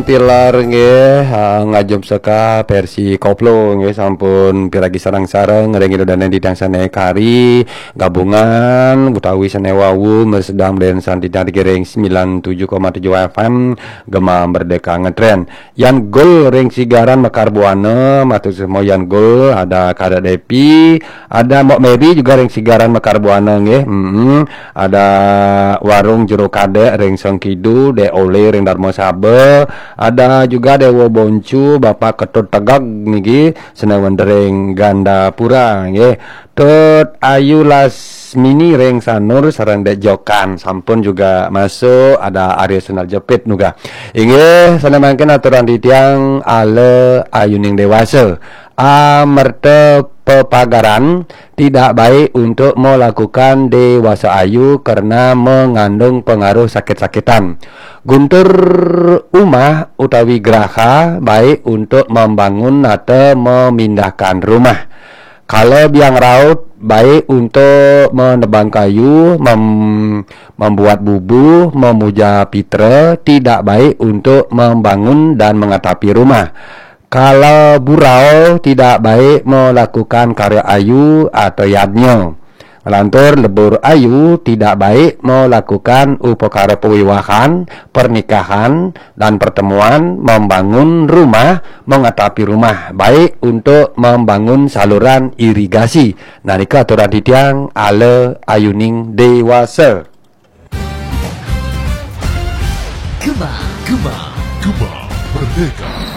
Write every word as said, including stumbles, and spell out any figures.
Tilar nggih, ha, ngajum seka versi koplo nggih, sampun piragi sareng-sareng ring Ida Dané Didang sané kari gabungan utawi sané wau mresidang Dén Sandidang ring sembilan tujuh koma tujuh F M Gema Merdeka Ngetren. Yan Gul ring Sigaran Mekar Buana, matur suksma Yan Gul, ada Kadek Depi, ada Mbok Mary juga ring Sigaran Mekar Buana nggih. Mm-mm. Ada Warung Jero Kadek ring Sengkidu, Dek Ole ring Darma Saba, ada juga Dewa Boncu, Bapak Ketut Tegag niki, Senawan ring Gandapura nggih. Tut Ayu Lasmini ring Sanur sareng Dek Jokan sampun juga masuk, ada Arya Sunar Jepit nuga. Inggih, sané mangkin aturan titiang ala ayuning dewasa. Amerta pepagaran tidak baik untuk melakukan dewasa ayu karena mengandung pengaruh sakit-sakitan. Guntur umah utawi graha baik untuk membangun atau memindahkan rumah. Kala biang raut baik untuk menebang kayu, mem- membuat bubu, memuja pitra, tidak baik untuk membangun dan mengatapi rumah. Kala burau tidak baik melakukan karya ayu atau yadnya. Lantur lebur ayu tidak baik melakukan upakara pewiwahan, pernikahan, dan pertemuan, membangun rumah, mengatapi rumah, baik untuk membangun saluran irigasi. Nah, nika aturan titiang ala ayuning dewasa. Gema, Gema, Gema Merdeka.